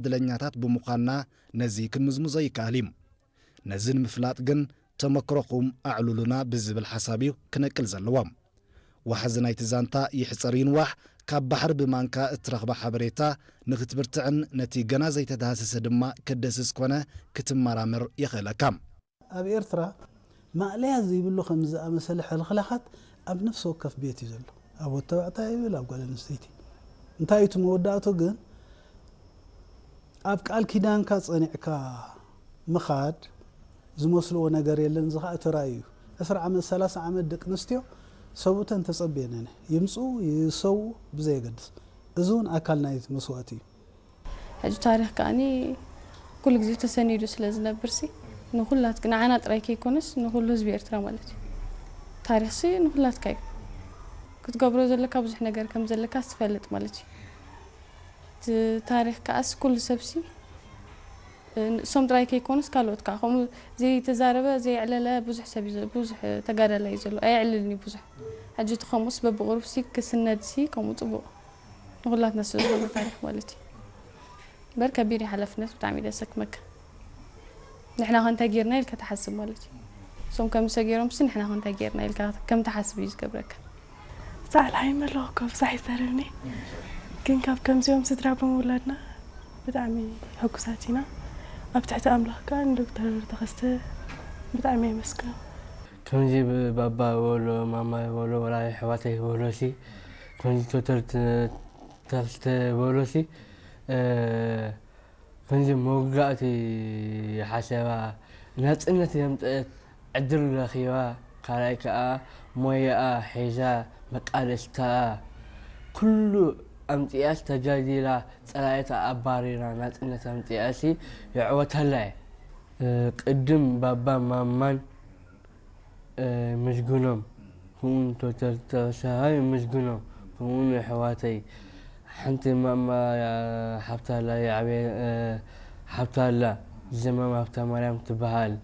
ዕድለኛታት ብምዃንና ነዚ ክንምዝምዞ ይከኣል እዩ። ነዚ ንምፍላጥ ግን ተመክሮኹም ኣዕሉሉና ብዝብል ሓሳብ እዩ ክነቅል ዘለዎ። ዋሕዚ ናይቲ ዛንታ ይሕጸር ይንዋሕ፣ ካብ ባሕሪ ብማንካ እትረኽባ ሓበሬታ ንኽትብርትዕን ነቲ ገና ዘይተዳህሰሰ ድማ ክደስስ ኮነ ክትመራመር የኽእለካ። ኣብ ኤርትራ ማእለያ ዘይብሉ ከምዚ ዝኣመሰለ ሕልኽላኻት ኣብ ነፍሲ ወከፍ ቤት እዩ ዘሎ። ኣብ ወዲ ተባዕታይ ይብል፣ ኣብ ጓል ኣንስተይቲ። እንታይ እዩ እቲ መወዳእቱ ግን? ኣብ ቃል ኪዳንካ ጸኒዕካ ምኻድ ዝመስልዎ ነገር የለን። እዚ ኸኣ እቲ ራእይ እዩ። ዕስራ ዓመት፣ ሰላሳ ዓመት ደቂ ኣንስትዮ ሰብኡተን ተጸብየን እነ ይምጽኡ ይሰውኡ ብዘየገድስ። እዚ እውን ኣካል ናይቲ መስዋእቲ እዩ። ሕጂ ታሪኽ ከኣኒ ኩሉ ግዜ ተሰኒዱ ስለ ዝነብር ሲ ንኹላት ንዓና ጥራይ ከይኮነስ ንኹሉ ህዝቢ ኤርትራ ማለት እዩ። ታሪኽ ሲ ንኹላትካ እዩ። ክትገብሮ ዘለካ ብዙሕ ነገር ከም ዘለካ ትፈልጥ ማለት እዩ። እቲ ታሪኽ ከኣስ ኩሉ ሰብ ሲ ንሶም ጥራይ ከይኮነስ ካልኦት ከዓ ከምኡ ዘይተዛረበ ዘየዕለለ ብዙሕ ሰብ እዩ ዘ- ብዙሕ ተጋዳላይ እዩ ዘሎ ኣየዕልልን እዩ ብዙሕ። ሕጂ እቲ ከምኡስ በብቕሩብ ሲ ክስነድ ሲ ከምኡ ፅቡቕ ንኹላትና ስለ ዝኾነ ታሪኽ ማለት እዩ። እምበር ከቢድ እዩ ሓላፍነት ብጣዕሚ እዩ ዘሰክመካ። ንሕና ከ እንታይ ጌርና ኢልካ ትሓስብ ማለት እዩ። እሶም ከምዚ ሰጊሮም ሲ ንሕና ከ እንታይ ጌርና ኢልካ ከም ትሓስብ እዩ ዝገብረካ። ዛዕላ ይመለኹ እኮ ብዙሕ ይዛረብኒ ግን ካብ ከምዚኦም ስድራ ብምውላድና ብጣዕሚ ሕጉሳት ኢና። ኣብ ትሕቲ ኣምላኽ ከዓ ንዶክተር ተኸስተ ብጣዕሚ የመስግኖ። ከምዚ ባባ በሎ ማማ በሎ ወላ ኣሕዋተይ በሎ ሲ ከምዚ ቶተር ተኽስተ በሎ ሲ ከምዚ መውጋእቲ ሓሰባ ናፅነት የምፀት ዕድል ረኺባ ካልኣይ ከዓ ሞያኣ ሒዛ መቃለስታኣ ኩሉ ኣምፂኣስ ተጃዲላ ፀላኢታ ኣባሪራ ናፅነት ኣምፂኣሲ የዕወተላ እየ። ቅድም ባባ ማማን ምስግኖም ክውን ተተርተሰሃይ ምስግኖም ክውን ኣሕዋተይ ሓንቲ ማማ ሓብታላ ይዓበየ ሓብታላ ዘማም ሃብተማርያም ትበሃል።